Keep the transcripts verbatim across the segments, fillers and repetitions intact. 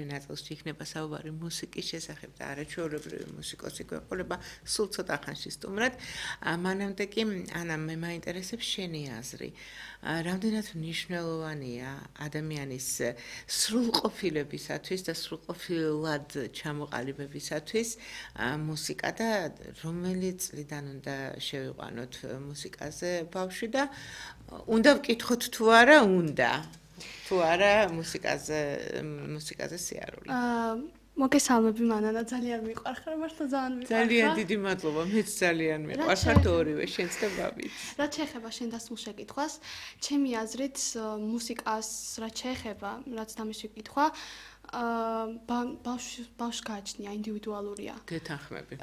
ნაწილში იქნება საუბარი მუსიკის შესახებ და არაჩვეულებრივი მუსიკოსი გვეყოლება სულ ცოტა ხანში სტუმრად. მანამდე კი ანა მე მაინტერესებს შენი აზრი. რამდენად მნიშვნელოვანია ადამიანის სრულყოფილებისათვის და სრულყოფილად ჩამოყალიბებისათვის მუსიკა და რომელი წლიდან უნდა შევიყვანოთ მუსიკაზე ბავშვი და უნდა ვკითხოთ თუ არა უნდა თუ არა მუსიკაზე მუსიკაზე სიარული. მოგესალმები მანანა ძალიან მიყვარხარ მართლა ძალიან მიყვარხარ. ძალიან დიდი მადლობა მეც ძალიან მიყვარხართ ორივე შენც და ბაბიც. რაც შეეხება შენ დასმულ შეკითხვას, ჩემი აზრით მუსიკას რაც შეეხება, რაც დამისვი კითხვა, ბავშვ ბავშვს გააჩნია ინდივიდუალურია. გეთანხმები.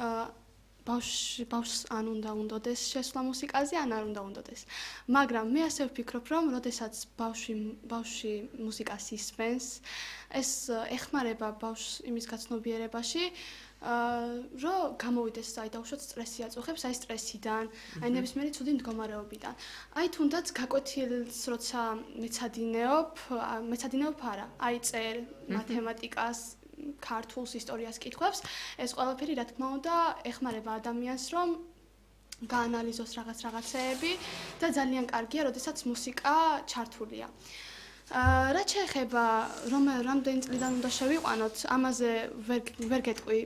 ბავშვ ბავშვს ან უნდა უნდოდეს შესვლა მუსიკაზე, ან არ უნდა უნდოდეს. მაგრამ მე ასე ვფიქრობ, რომ როდესაც ბავშვი ბავშვი მუსიკას ისმენს, ეს ეხმარება ბავშვს იმის გაცნობიერებაში, რომ გამოვიდეს აი დაუშვათ სტრესი აწუხებს, აი სტრესიდან, აი ნებისმიერი ცუდი მდგომარეობიდან. აი თუნდაც გაკვეთილს როცა მეცადინეობ, მეცადინეობ არა, აი წერ მათემატიკას ქართულს ისტორიას კითხვებს, ეს ყველაფერი რა თქმა უნდა ეხმარება ადამიანს, რომ გაანალიზოს რაღაც რაღაცეები და ძალიან კარგია, როდესაც მუსიკა ჩართულია. რაც შეეხება რომ რამდენი წლიდან უნდა შევიყვანოთ, ამაზე ვერ ვერ გეტყვი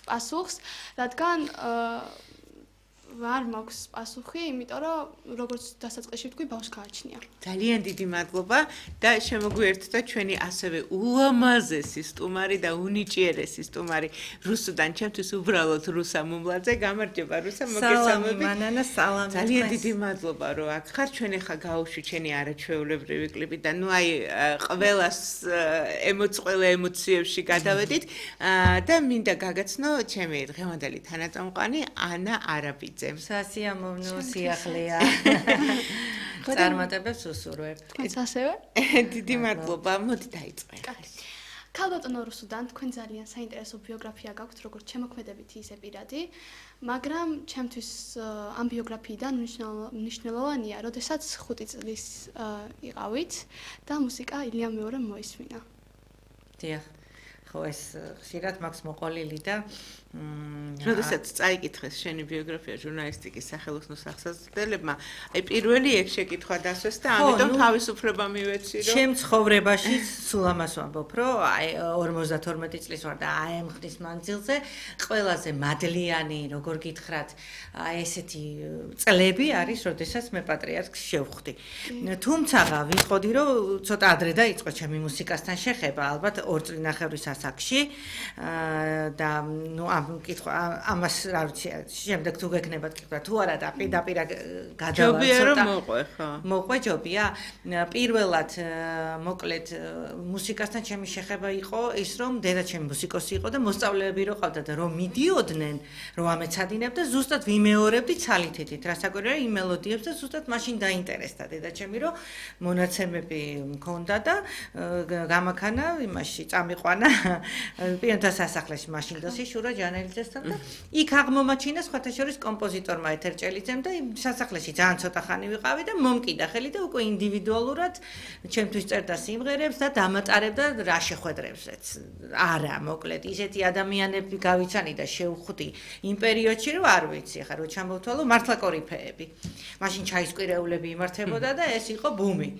პასუხს, რადგან არ მაქვს პასუხი, იმიტომ რომ როგორც დასაწყისში ვთქვი, ბავშვს გააჩნია. ძალიან დიდი მადლობა და შემოგვიერთდა ჩვენი ასევე ულამაზესი სტუმარი და უნიჭიერესი სტუმარი რუსუდან, ჩემთვის უბრალოდ რუსა მუმლაძე. გამარჯობა რუსა, მოგესალმებით. სალამი მანანა, სალამი. ძალიან დიდი მადლობა რომ აქ ხარ. ჩვენ ახლა გავუშვი ჩვენი არაჩვეულებრივი კლიპი და ნუ აი ყველას ემოც ყველა ემოციებში გადავედით და მინდა გაგაცნო ჩემი დღევანდელი თანაწამყვანი ანა არაბიძე. სასიამოვნო სიახლეა. წარმატებებს უსურვებ. თქვენც ასევე? დიდი მადლობა. მოდი დაიწყე. ქალბატონო რუსუდან, თქვენ ძალიან საინტერესო ბიოგრაფია გაქვთ, როგორც შემოქმედებითი, ისე პირადი, მაგრამ ჩემთვის ამ ბიოგრაფიიდან მნიშვნელოვანია, როდესაც ხუთი წლის იყავით და მუსიკა ილია მეორემ მოისმინა. დიახ. ხო ეს ხშირად მაქვს მოყოლილი და როდესაც წაიკითხეს შენი ბიოგრაფია ჟურნალისტიკის სახელოსნო სახსრებმა, აი პირველი ეგ შეკითხვა დასვეს და ამიტომ თავისუფლება მივეცი რომ ჩემ ცხოვრებაში სულ ამას ვამბობ, რომ აი ორმოცდათორმეტი წლის ვარ და აი ამ ხნის მანძილზე ყველაზე მადლიანი, როგორ გითხრათ, აი ესეთი წლები არის, როდესაც მე პატრიარქს შევხვდი. თუმცა ვიტყოდი, რომ ცოტა ადრე დაიწყო ჩემი მუსიკასთან შეხება, ალბათ ორ წლინახევრის ასაკში და ნუ ამ კითხვა ამას რა ვიცი შემდეგ თუ გექნებათ კითხვა თუ არა და პირდაპირ გადავალ ცოტა მოყვე ხო მოყვე ჯობია პირველად მოკლედ მუსიკასთან ჩემი შეხება იყო ის რომ დედა ჩემი მუსიკოსი იყო და მოსწავლეები რო ყავდა და რომ მიდიოდნენ რომ ამეცადინებ და ზუსტად ვიმეორებდი ცალითითით რასაკვირველია იმ მელოდიებს და ზუსტად მაშინ დაინტერესდა დედა ჩემი რომ მონაცემები მქონდა და გამაქანა იმაში წამიყვანა პირთა სასახლეში მაშინ დოსი შურა ჯანელიძესთან და იქ აღმომაჩინა სხვათა შორის კომპოზიტორმა ეთერჭელიძემ და სასახლეში ძალიან ცოტა ხანი ვიყავი და მომკიდა ხელი და უკვე ინდივიდუალურად ჩემთვის წერდა სიმღერებს და დამატარებდა რა შეხვედრებსაც არა მოკლედ ისეთი ადამიანები გავიცანი და შევხვდი იმ პერიოდში რომ არ ვიცი ხა რო ჩამოვთვალო მართლა კორიფეები მაშინ ჩაისკვირეულები იმართებოდა და ეს იყო ბუმი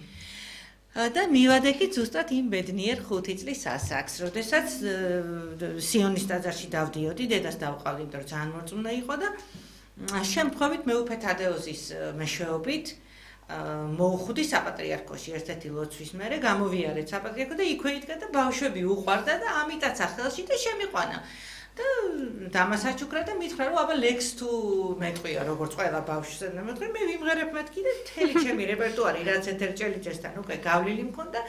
და მივადექი ზუსტად იმ ბედნიერ ხუთი წლის ასაკს, როდესაც სიონის ტაძარში დავდიოდი, დედას დავყავდი, იმიტომ რომ ძალიან მორწმუნე იყო და შემთხვევით მეუფე თადეოზის მეშვეობით მოუხვდი საპატრიარქოში ერთ-ერთი ლოცვის მერე, გამოვიარეთ საპატრიარქო და იქვე იდგა და ბავშვები უყვარდა და ამიტაცა ხელში და შემიყვანა. და დამასაჩუქრა და მითხრა რომ აბა ლექს თუ მეტყვია როგორც ყველა ბავშვს და მეთქი მე ვიმღერებ მეთქი და მთელი ჩემი რეპერტუარი რაც ეთერჭელიძესთან უკვე გავლილი მქონდა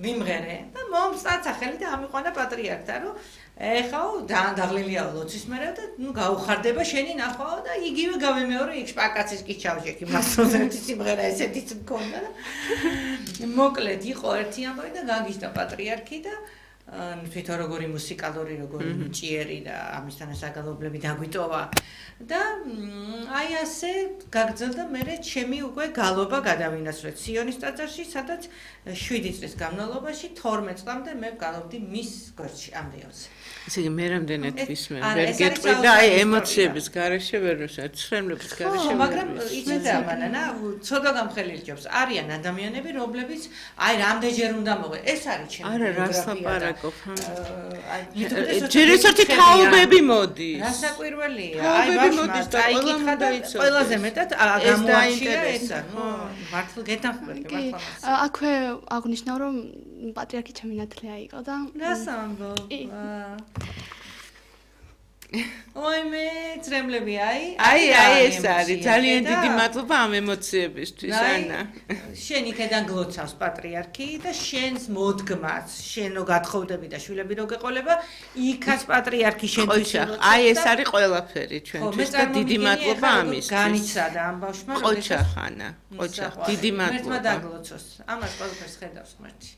ვიმღერე და მომწაცა ხელი და ამიყვანა პატრიარქთან რომ ეხაო ძალიან დაღლილია ლოცვის მერე და ნუ გაუხარდება შენი ნახვაო და იგივე გავემეორე იქ შპაკაცის კი ჩავშეკი მასწავლე ერთი სიმღერა ესეთიც მქონდა და მოკლედ იყო ერთი ამბავი და გაგიჟდა პატრიარქი და თვითონ როგორი მუსიკალური, როგორი ჭიერი და ამისთან საგალობლები დაგვიტოვა და აი ასე გაგრძელდა მე ჩემი უკვე გალობა გადავინაცვლე სიონის ტაძარში, სადაც შვიდი წლის განმავლობაში თორმეტ წლამდე მე გალობდი მის გვერდში ამ რეალზე. ესე იგი მე რამდენად ვისმენ, ვერ გეტყვი და აი ემოციების გარეშე ვერ ვისმენ, ცხრემლების გარეშე ვერ ვისმენ. მაგრამ იცით რა მანანა, ცოტა გამხელი რჯობს. არიან ადამიანები, რომლებიც აი რამდენჯერ უნდა მოყვე. ეს არის ჩემი არა, რას ლაპარაკობ? აი ჯერ ესეთი თაობები მოდის. რასაკვირველია. აი ბავშვმა წაიკითხა და ყველაზე მეტად გამოაჩია ესა. ნუ მართლა გეთანხმები მართლა. აქვე აღნიშნავ რომ პატრიარქი ჩემი ნათლია იყო და რას ამბობ? ой მე ძრემლები აი აი აი ეს არის ძალიან დიდი მადლობა ამ ემოციებისთვის ანა შენ იქიდან გლოცავს პატრიარქი და შენს მოდგმას შენო გათხოვდები და შვილები რო გეყოლება იქაც პატრიარქი შენთვის აი ეს არის ყველაფერი ჩვენთვის და დიდი მადლობა ამისთვის განიცადა ამ ბავშვმა ყოჩა ხანა ყოჩა დიდი მადლობა მერთმა დაგლოცოს ამას ყველაფერს ხედავს ღმერთი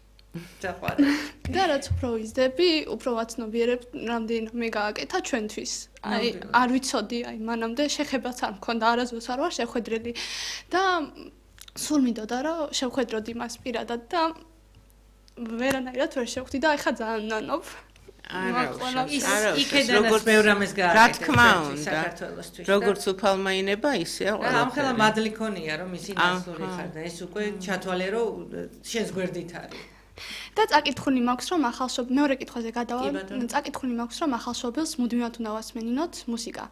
და რაც უფრო ვიზდები, უფრო ვაცნობიერებ, რამდენიმე გააკეთა ჩვენთვის. აი, არ ვიცოდი, აი, მანამდე შეხებაც არ მქონდა, არასდროს არ ვარ შეხვედრილი და სულ მინდოდა რომ შევხვედროდი მას პირადად და ვერანაირად ვერ შევხვდი და ახლა ძალიან ნანობ. არა, იქედანაც ბევრ ამას გააკეთა. რა თქმა უნდა, როგორც უფალმაინება, ისეა ყველაფერი. ამ ხელა მადლი ქონია რომ ისი ნაცვლური ხარ და ეს უკვე ჩათვალე რომ შენს გვერდით არის. და წაკითხული მაქვს რომ ახალშობ მეორე კითხვაზე გადავალ წაკითხული მაქვს რომ ახალშობილს მუდმივად უნდა ვასმენინოთ მუსიკა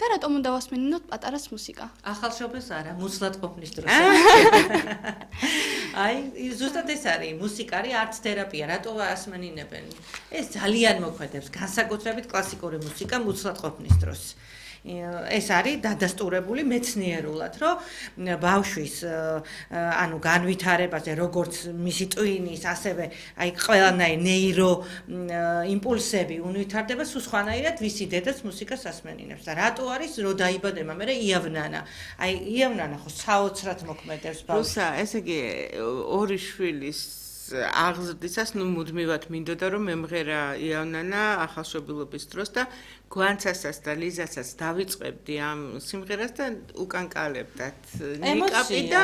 და რატომ უნდა ვასმენინოთ პატარას მუსიკა ახალშობილს არა მუცლად ყოფნის დროს აი ზუსტად ეს არის მუსიკა არის არც თერაპია რატო ვასმენინებენ ეს ძალიან მოქმედებს განსაკუთრებით კლასიკური მუსიკა მუცლად ყოფნის დროს ეს არის დადასტურებული მეცნიერულად, რომ ბავშვის ანუ განვითარებაზე, როგორც მისი ტვინის, ასევე აი ყველანაირი ნეირო იმპულსები უნვითარდება, სულ სხვანაირად ვისი დედაც მუსიკას ასმენინებს და რატო არის, რომ დაიბადება მე იავნანა. აი იავნანა ხო საოცრად მოქმედებს ბავშვს. რუსა, ესე იგი ორი შვილის აღზრდისას ნუ მუდმივად მინდოდა რომ მემღერა იავნანა ახალშობილობის დროს და გვანცასაც და ლიზასაც დავიწყებდი ამ სიმღერას და უკანკალებდათ ნიკაპი და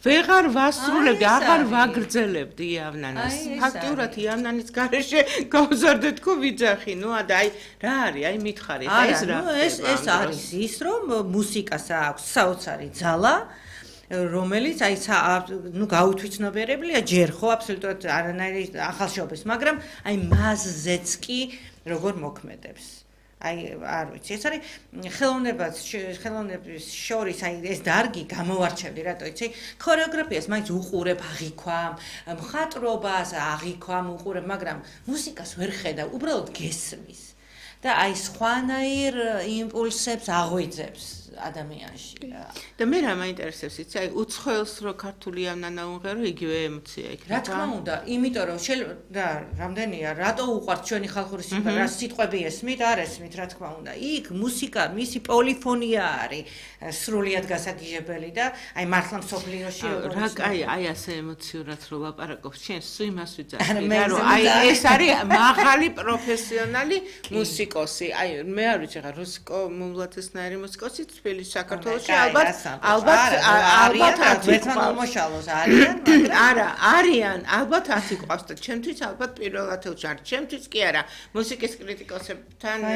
ვეღარ ვასრულებდი, აღარ ვაგრძელებდი იავნანას. ფაქტიურად იავნანის გარეშე გავზარდე თქო ვიძახი, ნუ და აი რა არის, აი მითხარი, ეს რა. ეს ეს არის ის რომ მუსიკას აქვს საოცარი ძალა რომელიც აი ნუ გაუთვითნობიერებელია ჯერ ხო აბსოლუტურად არანაირი ახალშობილს, მაგრამ აი მასზეც კი როგორ მოქმედებს. აი არ ვიცი, ეს არის ხელოვნებას ხელოვნების შორის აი ეს დარგი გამოვარჩევდი, რატო იცი? ქორეოგრაფიას მაინც უყურებ, აღიქვამ, მხატვრობას აღიქვამ, უყურებ, მაგრამ მუსიკას ვერ ხედავ, უბრალოდ გესმის. და აი სხვანაირ იმპულსებს აღვიძებს ადამიანში. და მე რა მაინტერესებს, იცი, აი უცხოელს რო ქართული ავნანა უმღერო, იგივე ემოცია იქნება. რა თქმა უნდა, იმიტომ რომ და რამდენია, რატო უყვართ ჩვენი ხალხური სიმღერა, სიტყვები ესმით, არ ესმით, რა თქმა უნდა. იქ მუსიკა, მისი პოლიფონია არის სრულიად გასაგიჟებელი და აი მართლა მსოფლიოში რა აი აი ასე ემოციურად რო ლაპარაკობ, შენ სულ იმას ვიძახი, რომ აი ეს არის მაღალი პროფესიონალი მუსიკოსი. აი მე არ ვიცი, რა რუსიკო მუმლათესნაირი მუსიკოსი თბილისში საქართველოში ალბათ ალბათ ალბათ ერთმან მომშალოს არიან მაგრამ არა არიან ალბათ ათი ყავს და ჩემთვის ალბათ პირველ ათეულში არის ჩემთვის კი არა მუსიკის კრიტიკოსებთან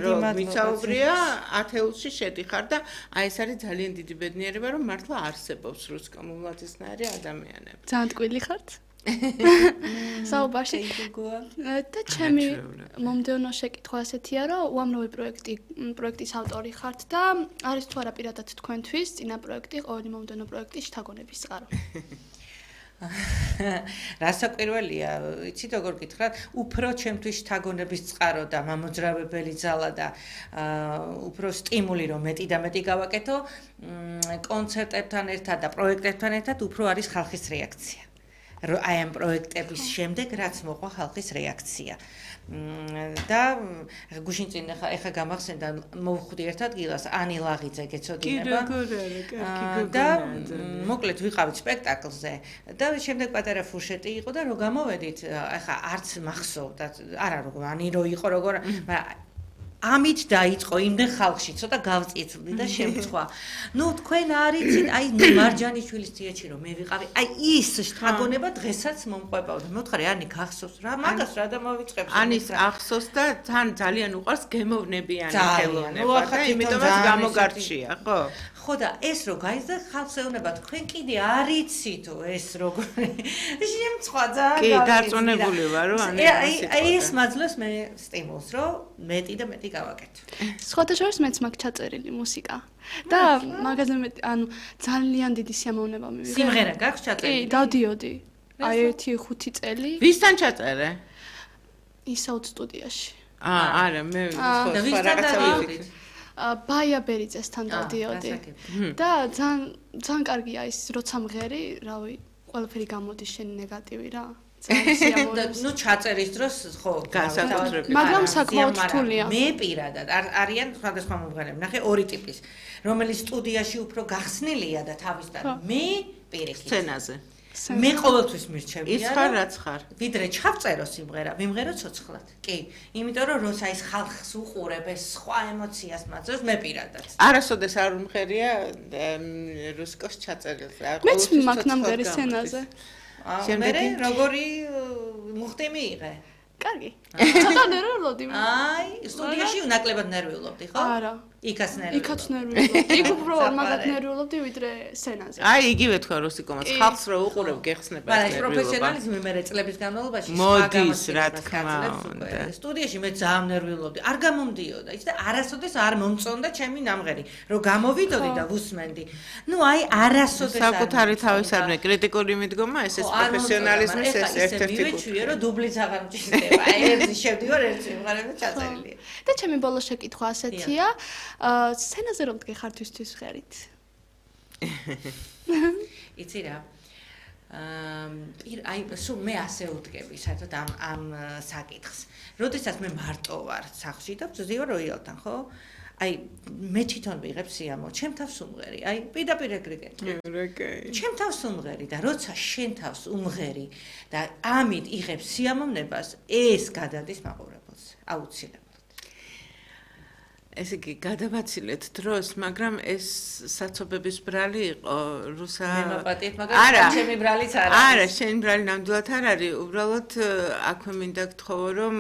რომ ვისაუბრია ათეულში შედიხარ და აი ეს არის ძალიან დიდი ბედნიერება რომ მართლა არსებობს რუსიკო მუმლათესნაირი ადამიანები ძალიან ტკბილი ხართ საუბარში და ჩემი მომდევნო შეკითხვა ასეთია რომ უამრავი პროექტი პროექტის ავტორი ხართ და არის თუ არა პირადად თქვენთვის წინა პროექტი ყოველი მომდევნო პროექტის შთაგონების წყარო რასაკვირველია იცით როგორ გითხრათ უფრო ჩემთვის შთაგონების წყარო და მამოძრავებელი ძალა და უფრო სტიმული რომ მეტი და მეტი გავაკეთო კონცერტებთან ერთად და პროექტებთან ერთად უფრო არის ხალხის რეაქცია აი ამ პროექტების შემდეგ რაც მოყვა ხალხის რეაქცია. და გუშინ წინ ახლა ახლა გამახსენდა მოვხვდი ერთ ადგილას ანი ლაღიძე გეცოდინება. და მოკლედ ვიყავით სპექტაკლზე და შემდეგ პატარა ფურშეტი იყო და რო გამოვედით ახლა არც მახსოვდა არა როგორ ანი რო იყო როგორ მაგრამ ამით დაიწყო იმდენ ხალხში ცოტა გავწიწვდი და შემწვა. ნუ თქვენ არიცით, აი მარჯანიშვილის თეატრში რომ მე ვიყავი, აი ის შთაგონება დღესაც მომყვებავდა. მოთხარი ანი გახსოვს რა მაგას რა და მოვიწყებს. ანის ახსოვს და თან ძალიან უყვარს გემოვნებიანი ხელოვნება და იმიტომაც გამოგარჩია, ხო? ხო და ეს რო გაიზრდა ხალხს ეუბნება თქვენ კიდე არიცითო ეს როგორი შემწვა ძალიან კი დარწმუნებული ვარ რომ აი აი ეს მაძლევს მე სტიმულს რომ მეტი და მეტი გავაკეთო. სხვათა შორის მეც მაქვს ჩაწერილი მუსიკა და მაგაზე მე ანუ ძალიან დიდი სიამოვნება მივიღე. სიმღერა გაქვს ჩაწერილი? კი, დავდიოდი. აი ერთი ხუთი წელი. ვისთან ჩაწერე? ისაუთ სტუდიაში. აა არა მე სხვა რაღაცა ვიყიდით. ბაია ბერიძესთან დავდიოდი. და ძალიან ძალიან კარგია ის როცა მღერი, რავი, ყველაფერი გამოდის შენი ნეგატივი რა. ნუ ჩაწერის დროს ხო განსაკუთრებით მაგრამ საკმაოდ რთულია. მე პირადად არიან სხვადასხვა მომღერლები. ნახე ორი ტიპის, რომელიც სტუდიაში უფრო გახსნილია და თავისთან მე პირიქით სცენაზე. მე ყოველთვის მირჩევია. ის ხარ რაც ხარ. ვიდრე ჩავწერო სიმღერა, ვიმღერო ცოცხლად. კი, იმიტომ რომ როცა ის ხალხს უყურებ ეს სხვა ემოციას მაძლევს მე პირადად. არასოდეს არ უმღერია რუსკოს ჩაწერილს. მეც მაქვს ნამღერი სცენაზე. შემდეგი როგორი მუხტი მიიღე? კარგი. ცოტა ნერვიულობდი. აი, სტუდიაში უნაკლებად ნერვიულობდი, ხო? არა. იქაც ნერვიულობდი. იქაც ნერვიულობდი. იქ უფრო მაგათ ნერვიულობდი ვიდრე სცენაზე. აი, იგივე თქვა რუსიკომაც, ხალხს რო უყურებ გეხსნება ეს ნერვიულობა. მაგრამ პროფესიონალიზმი მე წლების განმავლობაში მოდის რა თქმა უნდა. სტუდიაში მე ძალიან ნერვიულობდი. არ გამომდიოდა ის და არასოდეს არ მომწონდა ჩემი ნამღერი. რომ გამოვიდოდი და ვუსმენდი. ნუ აი, არასოდეს არ საკუთარი თავის არ მე კრიტიკული მიდგომა ეს ეს პროფესიონალიზმის ეს ერთ-ერთი მივეჩვიე რომ დუბლიც აღარ მჭირდება. აი, ერთი შევდივარ, ერთი სიმღერა ჩაწერილია. და ჩემი ბოლო შეკითხვა ასეთია. აა სცენაზე რომ გეხართვისთვის ხერით. იცი რა. აა აი სულ მე ასე ვდგები საერთოდ ამ ამ საკითხს. როდესაც მე მარტო ვარ სახლში და ვძივარ როიალთან, ხო? აი მე თვითონ ვიღებ სიამოვნებას, ჩემ თავს უმღერი. აი პირდაპირ ეგრეგე. ჩემ თავს უმღერი და როცა შენ თავს უმღერი და ამით იღებ სიამოვნებას, ეს გადადის მაყურებელს. აუცილებლად. ესე იგი გადავაცილეთ დროს, მაგრამ ეს საცობების ბრალი იყო რუსა მე მაპატიეთ, მაგრამ ჩემი ბრალიც არ არის. არა, შენი ბრალი ნამდვილად არ არის. უბრალოდ აქვე მინდა გთხოვო, რომ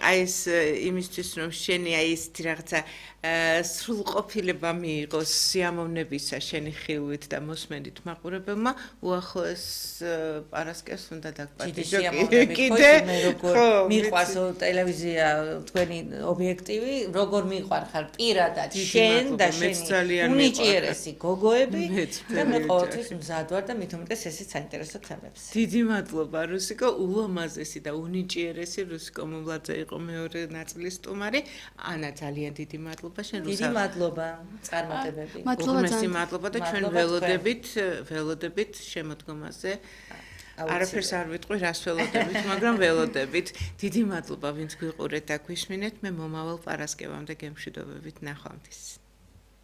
აი ეს იმისთვის რომ შენი აი ეს რაღაცა სრულყოფილება მიიღოს სიამოვნებისა შენი ხილვით და მოსმენით მაყურებელმა უახლოეს პარასკევს უნდა დაგპატიჟო კიდე ხო მიყვარს ტელევიზია თქვენი ობიექტივი როგორ მიყვარხარ პირადად შენ და შენი უნიჭიერესი გოგოები და მე ყოველთვის მზად ვარ და მით უმეტეს ესეც საინტერესო თემებს დიდი მადლობა რუსიკო ულამაზესი და უნიჭიერესი რუსიკო მომლაძე იყო მეორე ნაწილის სტუმარი ანა ძალიან დიდი მადლობა დიდი მადლობა წარმატებები. მადლობა მადლობა და ჩვენ ველოდებით, ველოდებით შემოდგომაზე. არაფერს არ ვიტყვი რას ველოდებით, მაგრამ ველოდებით. დიდი მადლობა ვინც გვიყურეთ და გვისმინეთ. მე მომავალ პარასკევამდე გემშვიდობებით ნახვამდის.